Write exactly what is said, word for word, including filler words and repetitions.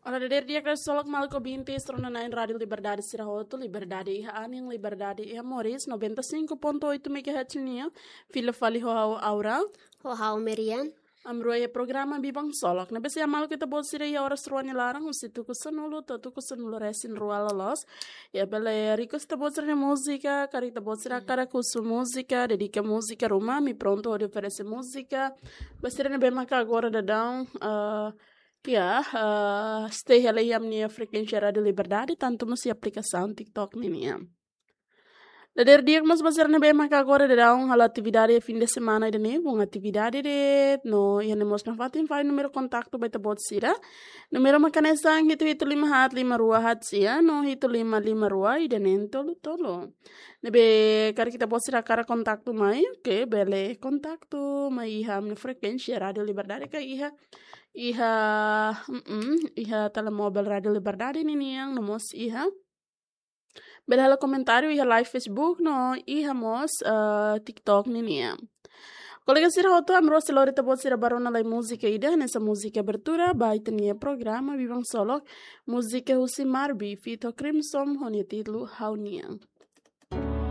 Olá, dadeer di'ak, ksolok maluk ouvinte sira nia nain Rádio Liberdade sira hotu, Liberdade iha anin, Liberdade iha moris, noventa e cinco ponto oito megahertz nian, fila fali ho ha'u Aura. Ho ha'u Merian. Ami rua iha programa Biban Ksolok. Ne'ebé se maluk ita-boot sira iha oras rua nia laran, husi tuku sanulu to'o tuku sanulu resin rua loloos. Iha bele request ita-boot sira nia múzika, karik ita-boot sira hakarak husu múzika, dedika múzika ruma, ami prontu hodi oferese múzika ba sira ne'ebé maka agora daudaun, eh, iha, eh, stay hela iha ami-nia frekuénsia Rádio Liberdade, tantu mós iha aplikasaun TikTok ninian. Dadeer di'ak mós ba sira ne'ebé maka agora daudaun halo atividade fim de semana ida-ne'e, bom atividade de'it, no iha ne'e mós nafatin fali númeru kontaktu ba ita-boot sira. Númeru mak hanesan hitu hitu lima haat lima rua haat sia, no hitu lima lima rua ida neen tolu tolu. Ne'ebé karik ita-boot sira hakarak kontaktu mai, oke, bele kontaktu mai iha ami-nia frekuénsia Rádio Liberdade ka iha, iha, mm, iha telemóvel Rádio Liberdade ninian, no mós iha bele halo komentáriu iha live Facebook no iha mós, eh, TikTok ninian. Kolega sira hotu, ami rua sei lori ita-boot sira ba rona lai múzika ida, hanesan múzika abertura ba ita-nia programa Biban Ksolok, múzika husi Marbi, feat Crimson, ho nia títulu Ha'u-nian.